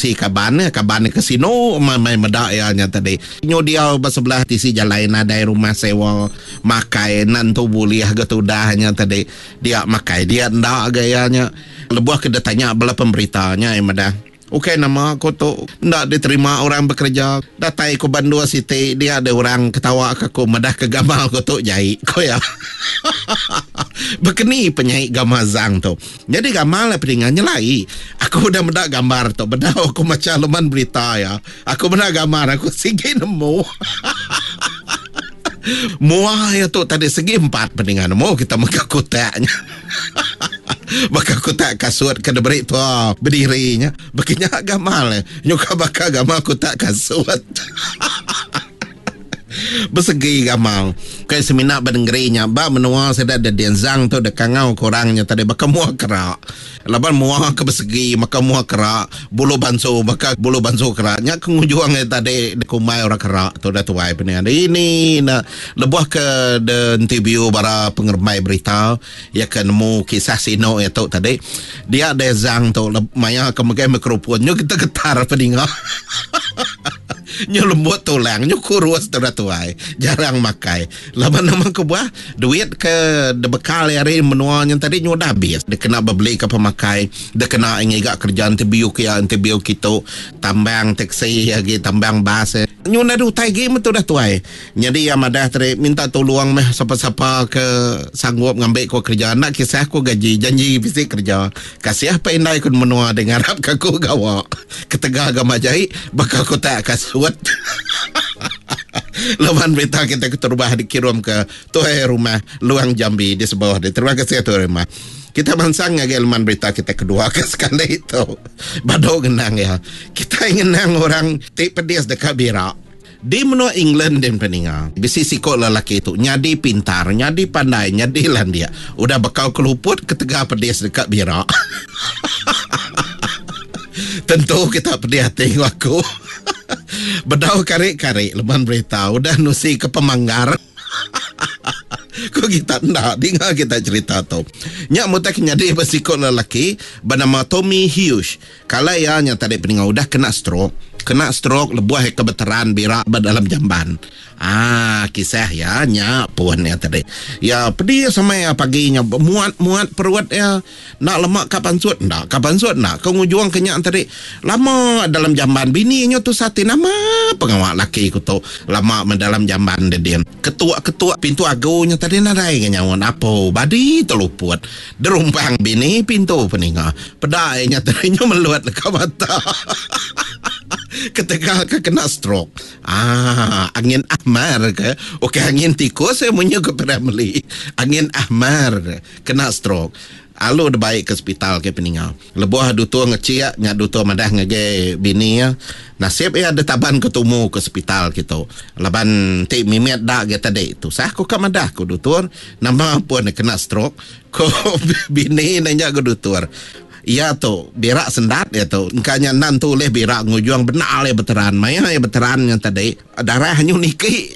tisi kaban iya, kaban iya ke sinu meh meda iya nya tadi. Nyu diau ba sebelah tisi jalai nadai rumah sewa makai enda entu bulih ga tudah nya tadi. Dia makai dia enda ga iya nya. Lebuh ke ditanya bala pemberita nya iya madah. Ukai nama aku tu enda diterima orang bekereja. Datai ku ba endur siti dia deh orang ketawa ke aku madah ke gamal ku tu jai, ku iya. Bekeni penyai gamal Zang tu. Nyadi gamal iya pedinga nyelai. Aku udah meda gambar tu bedau aku macha leman berita iya. Aku meda gambar aku sigi nemu. Mua iya tu tadi segi empat pedinga nemu kita mega kutak nya. Baka kutak kasut ke diberi tua bediri nya. Baka nya gamal eh. Nyuka baka gamal kutak kasut. Besegi gamal. Kai semina ba nengeri nya ba menua sida de Denzang tu de kangau ke orang nya tadi baka mua kera. Laban mua ke besegi maka mua kera, bulu bansu baka bulu bansu kera. Nya ke ngujung iya tadi dikumbai orang kera tu udah tuai penia. Ini ne lebuh ke de interview bara pengerembai berita iya ke nemu kisah sinu iya tu tadi dia deh Zang tu maya ke megai microphone nyu getar-getar peninga. Nyu lembut tulang nyu kurus tu udah tuai jarang makai. Laban nama kebuah duit ke dibekal iya ari menua nya tadi nyu udah abis dikena bebeli ke pemakai dikena ngiga kereja interview ke iya interview kitu tambang taxi agi tambang bas. Nyu nadai utai agi meh tudah tuai. Nyadi iya madah tadi minta tulung meh sapa-sapa ke sanggup ngambi ku kereja enda kisah ku gaji janji bisi kereja. Kasih pa indai ku menua deh ngarap ka aku gawa. Ketegal ga majai baka kutak kasut. Laban berita kita keterubah dikirum ke tuai rumah Luang Jambi di Sebauh deh. Terima kasih tuai rumah. Kita mansang ngagai leman berita kita kedua ke sekali tu. Badu ngenang iya. Kitai ngenang orang ti pedis deka bira. Di menua England din peninga, bisi siko lelaki tu nyadi pintar, nyadi pandai, nyadi landik. Udah bekau keluput ketegal pedis deka bira. Tentu kita pedih ati enggau aku. Bedau kari-kari leman berita udah nusi ke pemanggar. Ku kita enda dinga kita cerita tu. Nya mutai ke nyadi ba siku lelaki benama Tommy Hughes. Kala iya nya tadi peninga udah kena stroke. Kena stroke lebuh iya ke beteran bira ba dalam jamban. Aaa kisah iya nya pun iya tadi. Iya pedis amai iya pagi nya muat-muat perut iya. Enda lama ka pansut enda ka pansut enda ka ngujung ke nya tadi. Lama dalam jamban bini nyu tusah ti nama pengawa laki ku tu lama meh dalam jamban dedin. Ketuk-ketuk pintu agu nya tadi nadai ga nyaut apo badi teluput. Derumpang bini pintu peninga. Peda iya nya tadi nyu melut leka mata. Ketegal ke kena stroke. Aaa angin ahmar ke ukai angin tikus iya munyi ku P. Ramlee. Angin ahmar kena stroke. Alu dibai ke sepital ke peninga. Lebuh dutur ngechik nya dutur madah ngagai bini iya nasib iya ditaban ke tumu ke sepital kitu. Laban enti mimit da agi tadi tusah ku ka madah ku dutur nama pun kena stroke ku bini ne nya ku dutur. Iya tu bira sendat iya tu engka nya enda entu ulih bira ngujung bendar iya beteran. Maya iya beteran nya tadi darah nyu niki.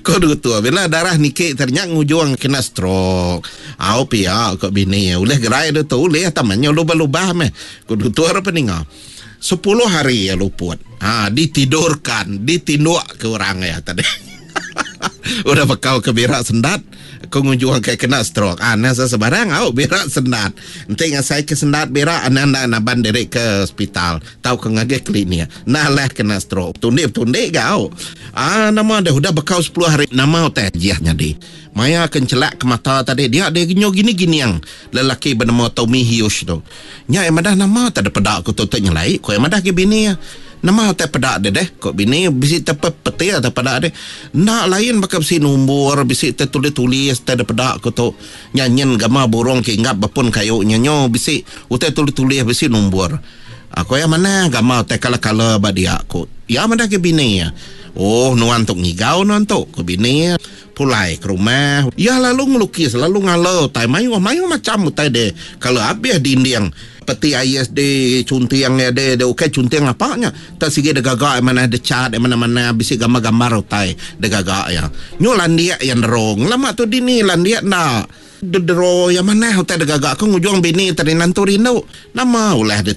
Ko dutur bila darah niki tadi nya ngujung kena stroke. Au pia ko bini iya ulih gerai dutur ulih tama nyu lubah-lubah meh ko dutur peninga. Sepuluh hari iya luput. Ha ditidurkan ditinduk ke orang iya tadi. Udah bekau ke bira sendat ko ngujung ke kena stroke. Ah nah sebarang au bira sendat. Enti ngasai ke sendat bira anang enda naban diri ke hospital tauka ngagai klinik. Nah alah kena stroke. Betundi-betundi ga au. Ah nama deh udah bekau sepuluh hari nama utai ajih nyadi. Maya ke enchelak ke mata tadi dia deh nyu gini-gining lelaki benema Tommy Hughes tu. Nya iya madah nama tak dipeda ku tu tu nyelai ku iya madah agi bini iya. Nama utai peda deh deh ku bini bisi te petir te peda deh. Enda lain baka bisi nombor bisi te tulis-tulis te dipeda ku tu. Nya nyin gama burung ke inggap ba pun kayu nya nyu bisi utai tulis-tulis bisi nombor. Ku iya manah gama utai kala-kala ba dia ku iya madah agi bini iya. Oh nuan tu ngigau nuan tu ku bini iya. Pulai ke rumah, iya lalu ngelukis lalu ngala utai mayuh mayuh macham utai deh. Kala abih dinding peti ais deh chunting iya deh deh ukai chunting apa nya tak sigi deh gaga iya manah deh cat iya manah manah bisi gambar gambar utai deh gaga iya. Nyu landik iya nero ngelama tu dini landik enda deh dero iya manah utai deh gaga ku ngujung bini tadi nentu rindu nama ulah ditu.